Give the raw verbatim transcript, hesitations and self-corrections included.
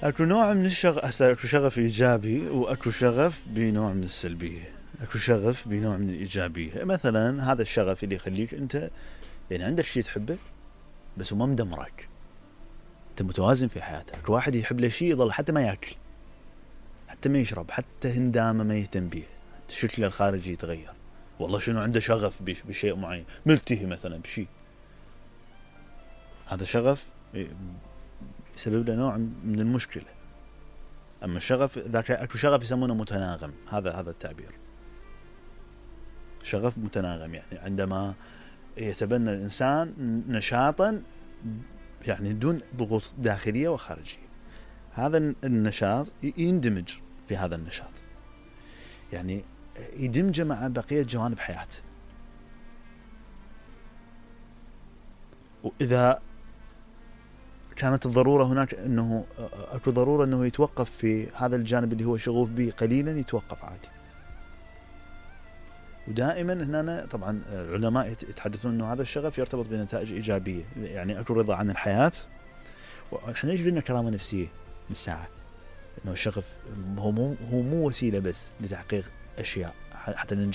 اكو نوع من الشغف، هسه اكو شغف ايجابي واكو شغف بنوع من السلبيه. اكو شغف بنوع من الايجابيه، مثلا هذا الشغف اللي يخليك انت يعني عندك شيء تحبه بس وما مدمرك، انت متوازن في حياتك. اكو واحد يحب له شيء يظل حتى ما ياكل، حتى ما يشرب، حتى هندامه ما يهتم بيه، شكله الخارجي يتغير، والله شنو عنده شغف بشيء معين، ملتهي مثلا بشيء، هذا شغف يسبب له نوع من المشكله. اما الشغف ذاك اكو شغف يسمونه متناغم، هذا هذا التعبير، شغف متناغم، يعني عندما يتبنى الانسان نشاطا يعني دون ضغوط داخليه وخارجيه، هذا النشاط يندمج في هذا النشاط، يعني يدمج مع بقيه جوانب حياته. واذا كانت الضرورة هناك أنه أكو ضرورة أنه يتوقف في هذا الجانب اللي هو شغوف به قليلا، يتوقف عادي. ودائما هنا طبعا العلماء يتحدثون أنه هذا الشغف يرتبط بنتائج إيجابية، يعني أكو رضا عن الحياة، ونحن يجري لنا كرامة نفسية بالساعة، أنه الشغف هو مو هو مو وسيلة بس لتحقيق أشياء حتى ننجح